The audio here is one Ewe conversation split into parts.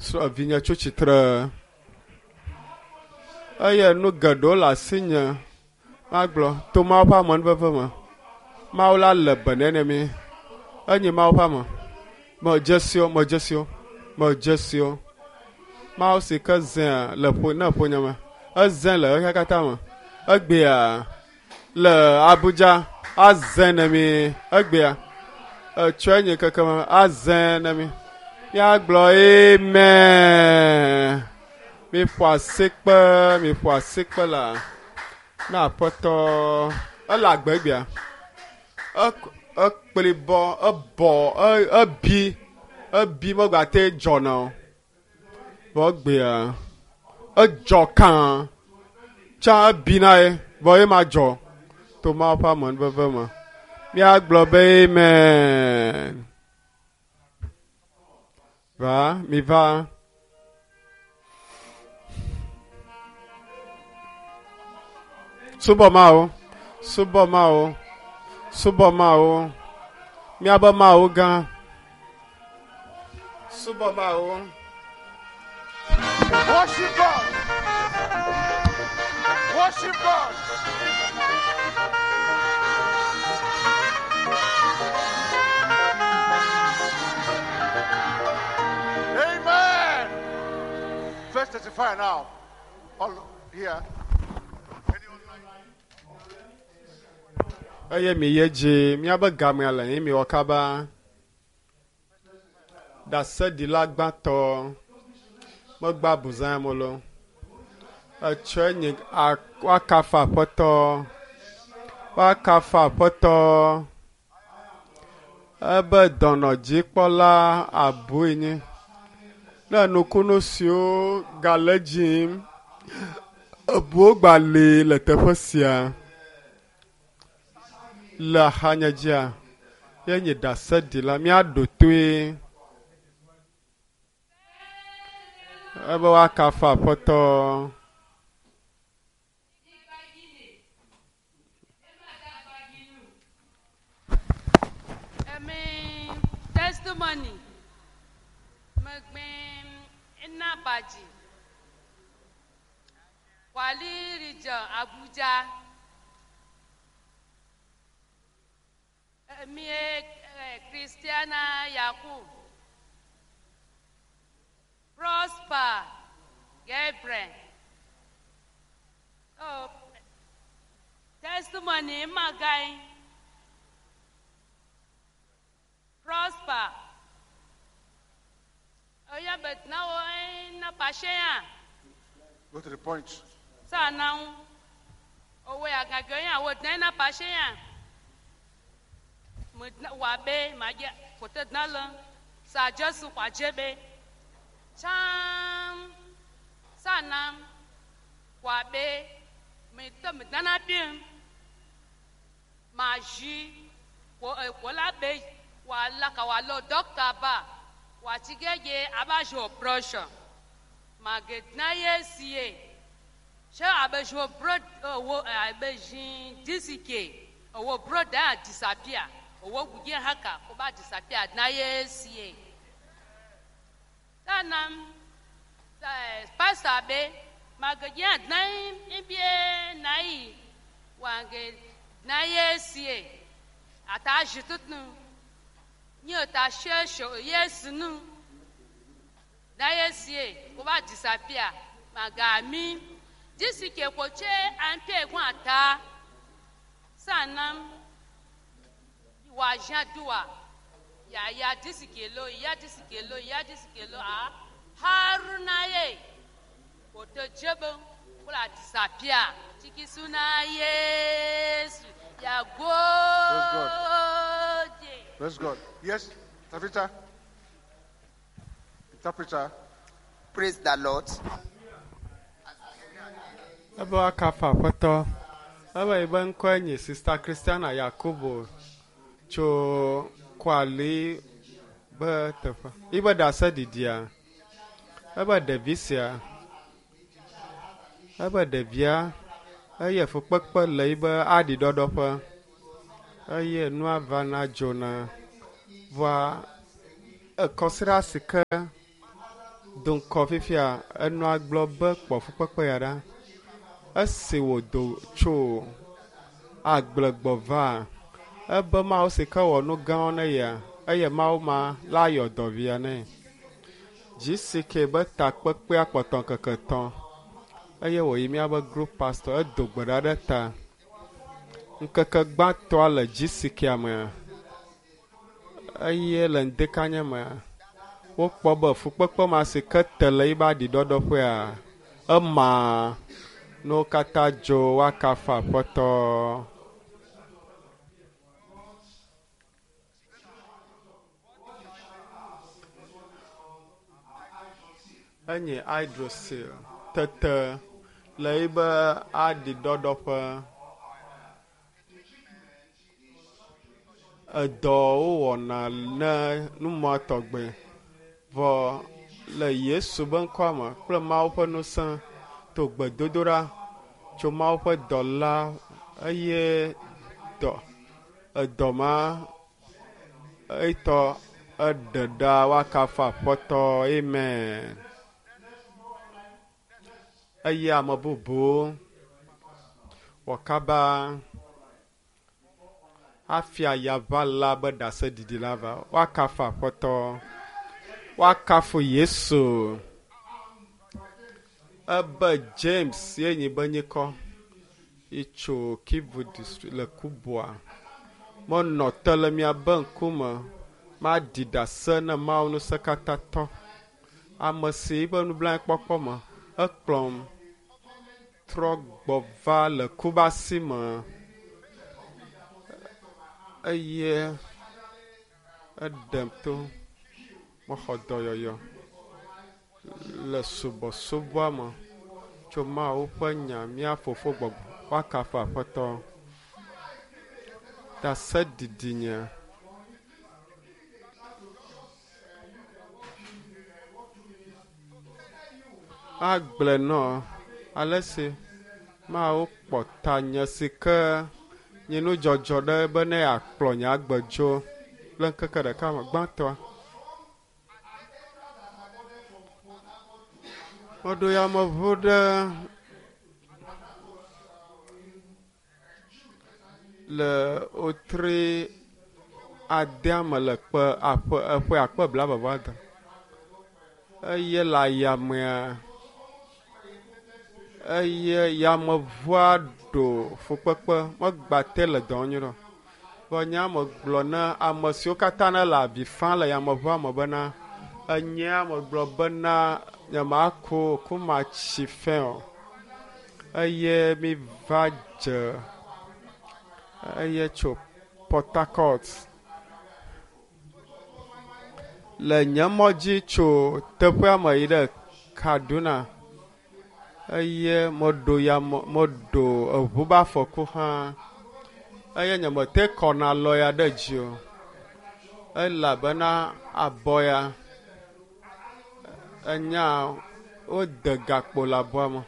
Srɔ̃ vinye tso tsitre. Eye nu geɖewo le asinye magblɔ to Mawu ƒe amenuveve me. Mawu la le be nɛ ne mi. Enye Mawu ƒe ame. Medze si wo, medze si wo, medze si wo. Mawu si ke zea le ƒo ne ƒonye me. Eze le xexea katã me. Egbea le Abuja aze ne mi. Egbea etsɔe nye keke me aze ne mi. Míagblɔ amen. Miƒo asikpe, miƒo asikpe la na aƒetɔ. Ele agbe egbea. Ekpli bɔ, ebɔ, ebi, ebi megbate dzɔna o. Vɔ egbea edzɔ kã. Tsã ebi na ye, vɔ ye ma dzɔ to Mawu ƒe amenuveve me. Míagblɔ be amen. Va, mi va. Subɔ Mawu, subɔ Mawu, subɔ Mawu. Míabe Mawu gã. Subɔ Mawu. Worship God. Worship God. Amen. Verse 35 now. All here. Eye mi ye dzi míabe gamea le ye miwɔ kaba. Ɖaseɖila gbãtɔ megba buzã molo. Etsɔe nye woakafu aƒetɔ. Woakafu aƒetɔ. Ebe dɔnɔdzikpɔla abui nye. Ne nukunu siwo gale dzim ebuwo gba li le teƒe sia. Le axanye dzia, ye nye ɖaseɖila míaɖo toe. Ebe woakafu aƒetɔ. Emi testimony megbe ina badzi Kwali region Abuja. Emi Christiana Yakub Prosper Gabriel. Oh, testimony magai Prosper. Oya but now na pashe Go to the point. Sa na owe agaga ya wo na pashe ya. Mo wa be ma je ko te na le. Sa Jesu kwa jebe. Cham sa na wa be mi te mi na bi. Ma ji ko ko la be wa la ka wa lo doctor ba. Wa tige aba jo operation. Ma ge na ye sie. Ṣé abe jo bro wo abe jin disike owo bro da disappear owo guje haka ko ba disappear na ye sie. Tanam pastor be ma ge je na ibie na yi wa ge na ye sie ata jitutnu ni ta she sho yes nu na ye sie ko ba disappear ma ga mi disike ko che ampe egun ata sanam wa jadua ya ya disike lo ya disike lo ya disike lo a haruna ye ko te jebe ko la disappear tiki suna Yesu ya go. Praise God. Praise God. Yes, interpreter. Interpreter. Praise the Lord. Ebe woakafu aƒetɔ. Ebe yi be ŋkɔe nye Sister Christiana Yakubu tso Kwali be teƒe. Yibe ɖaseɖiɖia, ebe ɖevi sia, ebe ɖevia eye fukpekpe le yibe aɖiɖɔɖɔƒe eye nua vana dzona. Vɔa ekɔsiɖa si ke Do ŋkɔ fifia enɔa gblɔ be kpɔ fukpekpe ya ɖa. Esi wòdo tso agble gbɔ va, ebe Mawu si ke wɔ nu gãwo ne yea, eye Mawu ma la yɔ dɔ via nɛ. GCK be takpekpea kpɔtɔ ŋkeke etɔ̃ eye wòyi míabe group pastor edo gbe ɖa ɖe ta. Ŋkeke gbãtɔa le GCK mea eye le ŋdekanye mea wokpɔ be fukpekpe ma si ke te le yibe aɖiɖɔɖɔƒea ema nuwo katã dzo woakafu aƒetɔ. Enye hydrocele tete le yibe aɖiɖɔɖɔƒe. Edɔ wowɔna ne numɔ tɔgbe vɔ le Yesu be ŋkɔa me kple Mawu ƒe ŋusẽ to gbedodoɖa tso Mawu ƒe dɔla eye dɔ edɔ ma etɔ eɖe ɖa woakafu aƒetɔ amen. Eye ame bubuwo wɔ kaba hafi ayaʋala be ɖaseɖiɖi la va. Woakafu aƒetɔ, woakafu Yesu. Ebe James ye nyi be nyikɔ itso Kivu district le Kubwa. Menɔ te le miabe ŋkume maɖi ɖase ne Mawu ŋusẽkatãtɔ. Ame si yiƒe nublanuikpɔkpɔ me ekplɔm trɔ gbɔ va le kubasi me eye eɖem to mexɔ dɔyɔyɔ le subɔsubɔa me tso Mawu ƒe nya mía fofo gbɔgbɔ woakafu aƒetɔ. Ɖaseɖiɖi nye. Agblɔe nɔ ale si Mawu kpɔ tanye si ke nye nudzɔdzɔ ɖe be ne yeakplɔ nye agbe dzo le ŋkeke ɖeka me gbãtɔa. Meɖo yameʋu ɖe le wotri adea me le kpe aƒe eƒe akpe blaeve vɔ ade eye le ayamea eye yameʋua ɖo fukpekpe megba te le dɔ nyuie o. Vɔ nye megblɔ na ame siwo katã ne le avi fam le yameʋua me bena enyea megblɔ bena nyemaku o, ku matsi fɛ o. Eye mi va dze eye tso Port Harcourt le nye mɔ dzi tso teƒea me yi ɖe Kaduna eye meɖo yame meɖo eʋu be afɔku hã eye nyemete kɔna lɔ ya ɖe dzi o elabena abɔ ya enya wode gakpo le abɔa me.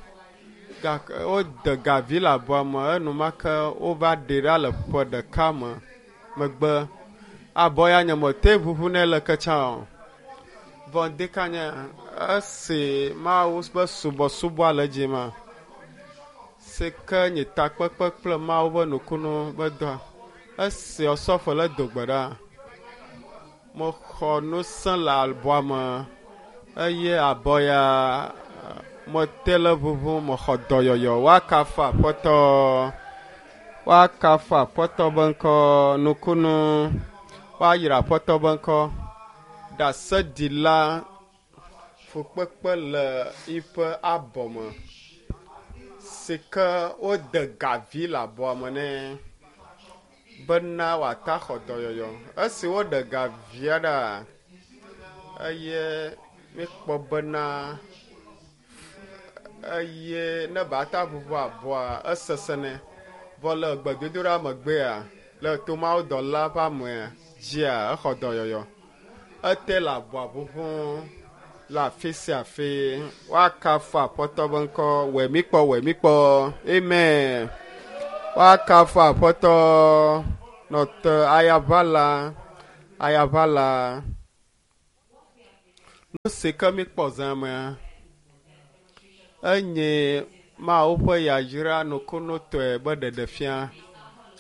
Gake wode gavi le abɔa me enumake wova ɖee ɖa le ƒe ɖeka me megbe. Abɔ ya nyemete ʋuʋu nɛ le ke tsã o. Vɔ ŋdeka nye esi Mawu ƒe subɔsubɔa le edzi ma si ke nye takpekpe kple Mawu ƒe nukunu be dɔa. Esi Osɔfo le do gbe ɖa, mexɔ ŋusẽ le abɔa me eye abɔ ya mete le ʋuʋu mexɔ dɔyɔyɔ. Woakafu aƒetɔ, woakafu aƒetɔ be ŋkɔ nukunu, woayra aƒetɔ be ŋkɔ. Ɖaseɖila fukpekpe le yiƒe abɔ me si ke wode gavi le abɔa me nɛ bena wòata xɔ dɔyɔyɔ. Esi woɖe gavia ɖa eye míekpɔ bena eye ne bata ʋuʋu abɔa esesẽ nɛ. Vɔ le gbedodoɖa megbea le tomawo dɔla ƒe amea dzia exɔ dɔyɔyɔ. Ete le abɔa ʋuʋu le afi sia afi. Woakafu aƒetɔ be ŋkɔ wɔ mi kpɔ wɔ mi kpɔ. Amen. Woakafu aƒetɔ nɔte ayaʋala ayaʋala. Nu si ke míkpɔ zã mea, enye Mawu ƒe yayra nukunutɔe be ɖeɖefia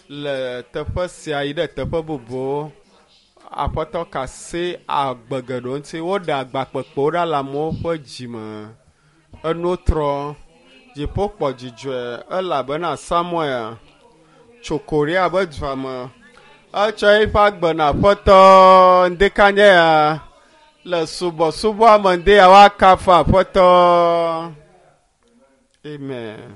le teƒe sia yi ɖe teƒe bubuwo. Aƒetɔ ka asi agbe geɖewo ŋuti. Woɖe agba kpekpewo ɖa le amewo ƒe dzime. Enuwo trɔ. Dziƒo kpɔ dzidzɔe elabena Samuel tso Korea be dua me. Etsɔ eƒe agbe na Aƒetɔ ŋdekanye ya le subɔsubɔa me ŋde ya woakafu Aƒetɔ. Amen.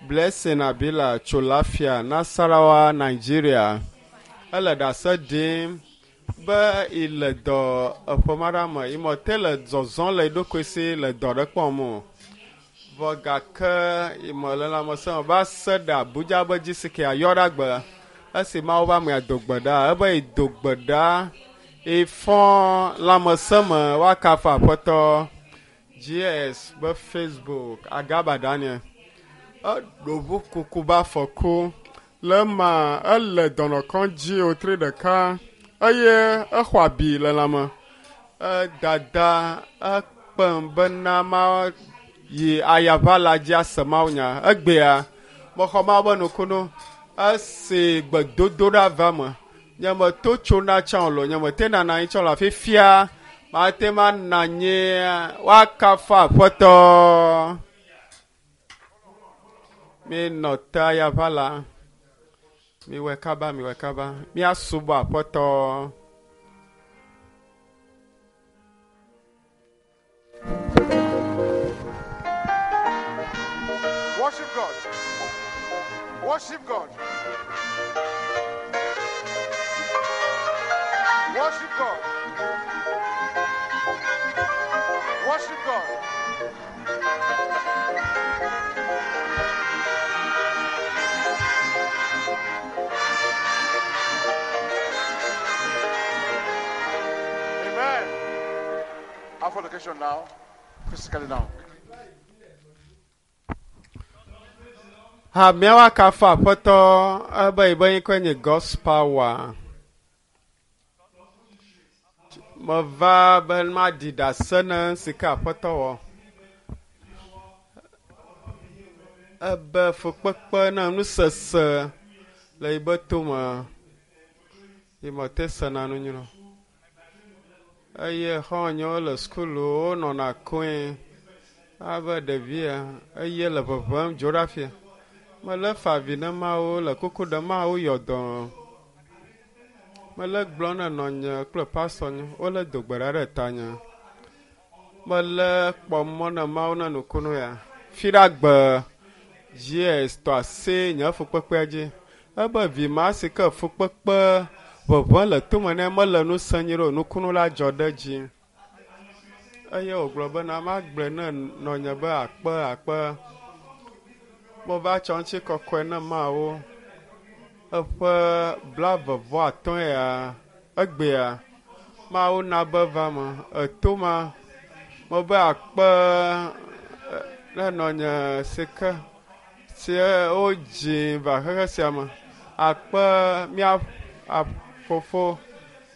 Blessing Abila tso Lafia, Nasarawa, Nigeria. Ele ɖase ɖim be ile dɔ eƒe ma ɖe me. Imɔ te le zɔzɔm le eɖokui si le dɔ ɖe kpɔm o. Vɔ gake imɔ le lãmesẽ me va se ɖe Abuja be dzi si ke ayɔ ɖe agbe. Esi Mawu be amea do gbe ɖa, ebe yi do gbe ɖa, ifɔ lãmesẽ me woakafu Aƒetɔ. GS be Facebook Agaba Daniel. Eɖo ʋu kuku be afɔku. Le ema ele dɔnɔkɔdzi wòtri ɖeka eye exɔ abi le lãme. Edada ekpem bena ma yi ayaʋa la dzi ase mawunya. Egbea mexɔ Mawu be nukunu esi gbedodoɖa va me. Nye meto tsona tsã o lo, nye mete nana anyi tsã o le afi fia. Mate ma na anyi woakafu Aƒetɔ. Minɔ te ayaʋa la. Miwɔe kaba, miwɔe kaba. Míasubɔ Aƒetɔ. Worship God. Worship God. Worship God. Worship God. Amen. Our location now, physically now. Hameawo akafu Aƒetɔ ebe yibe ŋkɔe nye God's power. Meva be maɖi ɖase ne si ke Aƒetɔ wɔ. Ebe fukpekpe na nusese le yibe tome. Yi mete sena nu nyuie o. Eye xɔ̃nyewo le sukulu wonɔna koe abe ɖevia eye le ʋeʋẽm dzo ɖe afia. Mele fa avi ne Mawu le kuku ɖem Mawu yɔ dɔ. Mele gblɔ ne nɔnye kple pastor nye wole do gbe ɖa ɖe tanye. Mele kpɔ mɔ ne Mawu ne nukunu ya. Fi ɖe agbe GS tɔ asi nye fukpekpea dzi. Ebe vi ma si ke fukpekpe ʋeʋẽ le tome nɛ mele nu sẽ nyuie ɖe o, nukunu la dzɔ ɖe edzi. Eye wògblɔ bena magblɔe ne nɔnye be akpe akpe. Meva tsɔ ŋuti kɔkɔe ne Mawu. Eƒe 35 ya egbea Mawu na be va me. Eto ma mebe akpe ne nɔnye si ke si wodzi va xexe sia me. Akpe mía fofo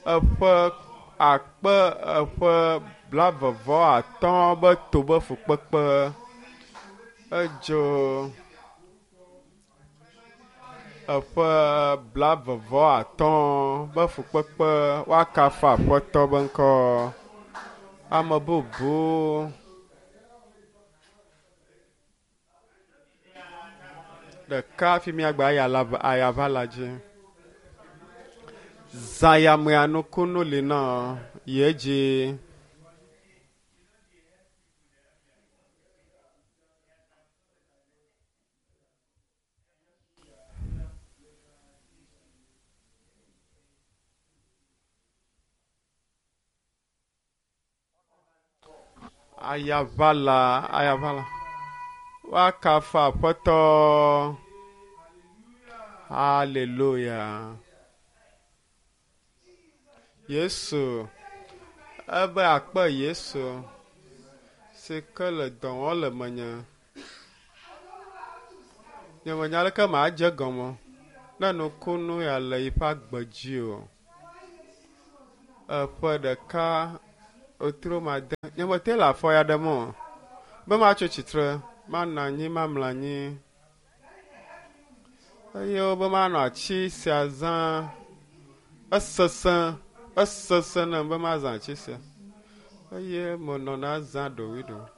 eƒe akpe eƒe 35 be to be fukpekpe. Edzo eƒe 35 be fukpekpe woakafu Aƒetɔ be ŋkɔ. Ame bubu ɖeka fi míagbe ayaʋa la dzi. Zãyamea nukunu li nɔ yi edzi. Ayaʋala, ayaʋala. Woakafu Aƒetɔ. Hallelujah. Yesu, ebe akpe Yesu si ke le dɔ wɔm le menye. Nye menya aleke madze gɔme ne nukunu ya le yiƒe agbe dzi o. Eƒe ɖeka Wòtrɔ made. Nye mete le afɔ ya ɖem o. Be matso tsitre, manɔ anyi, mamlɔ anyi. Eye wobe manɔ atsi sia zã. Esesẽ, esesẽ nam be mazã atsi sia. Eye menɔna zã ɖowiɖowi.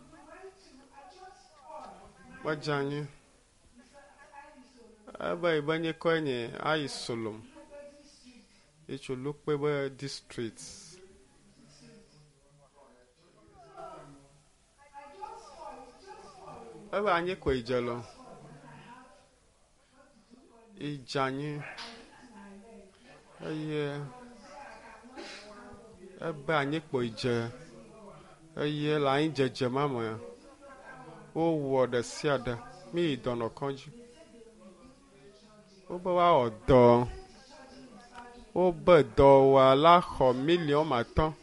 Medze anyi. Ebe yi be nyikɔe nye ayi Solom. Etso Lukpe be district. Ebe anyi koe dze lɔ. Idze anyi eye ebe anyi kpoe dze eye le anyi dzedze ma me wowɔ ɖe sia ɖe. Mi yi dɔnɔkɔdzi. Wobe woawɔ dɔ. Wobe dɔwɔla xɔ miliɔn atɔ̃.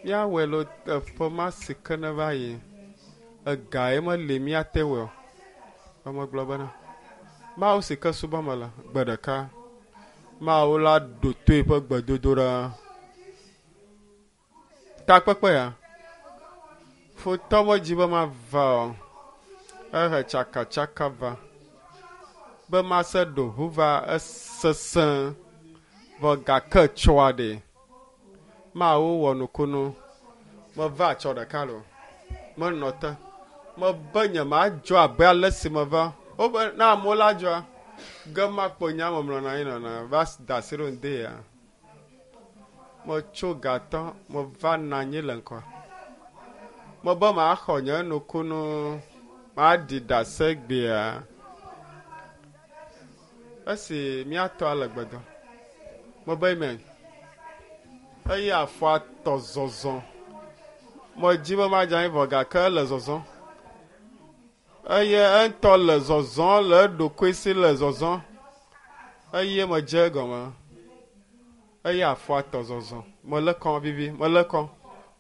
Míawɔe le eƒe ma si ke ne va yi. Ega ye meli míate wɔe o. Ame gblɔ bena, Mawu si ke subɔm mele, gbe ɖeka, Mawu la ɖo to eƒe gbedodoɖa. Takpekpe ya, futɔ medzi be mava o. Ehe tsakatsaka va. Be mase ɖo ʋu va esesẽ. Vɔ gake tsɔa ɖe. Mawu wɔ nukunu. Meva tsɔ ɖeka lo. Menɔ te. Mebe nye madzɔ abe ale si meva. Wobe na amewo la dzɔa. Ge makpɔ nye ame mlɔna anyi nɔna va da asi ɖo ŋde ya. Metso gatɔ, meva nɔ anyi le ŋkɔa. Mebe maxɔ nye nukunu, maɖi ɖase gbea. Esi míatɔ le gbedɔ. Mebe amen. Eye afɔa tɔ zɔzɔ. Medzi be madze anyi vɔ gake ele zɔzɔ. Eye eŋutɔ le zɔzɔ le eɖokui si le zɔzɔ. Eye medze egɔme. Eye afɔa tɔ zɔzɔ. Mele kɔ vivi, mele kɔ,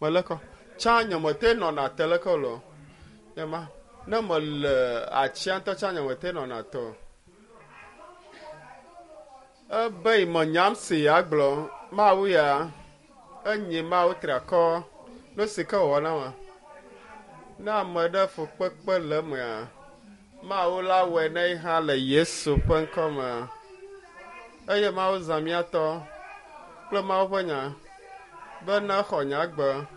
mele kɔ. Tsã nye mete nɔna te leke o lo. Nye ne mele atsia ŋutɔ tsã nye mete nɔna te o. Ebe yi menyam si ya gblɔ, Mawu ya, enye Mawu triakɔ, nu si ke wòwɔ na ma. Ne ame ɖe fukpekpe le emea, Mawu la wɔe ne yi hã le Yesu ƒe ŋkɔ me. Eye Mawu zã mía tɔ kple Mawu ƒe nya be ne xɔ nya gbe.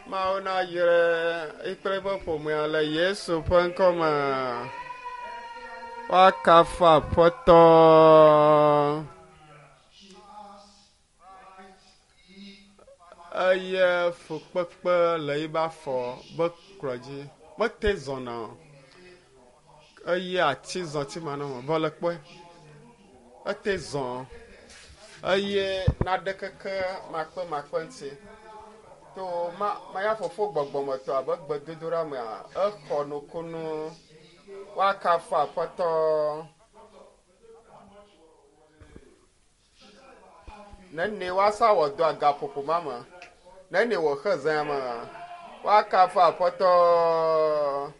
Mawu nayrae kple eƒe ƒomea le Yesu ƒe ŋkɔ me. Woakafu Aƒetɔ. Eye fukpekpe le yiƒe afɔ be klɔ dzi. Mete zɔna o. Eye ati zɔti ma nɔ vɔ le kpɔe. Ete zɔ. Eye naɖe keke makpe makpe ŋuti. To ma maya fofo gbɔgbɔmetɔ abe gbedodoɖa mea, exɔ nukunu. Woakafu Aƒetɔ. Nene woasa wɔ dɔ agaƒoƒo ma me. Nene wòxe zã me. Woakafu Aƒetɔ.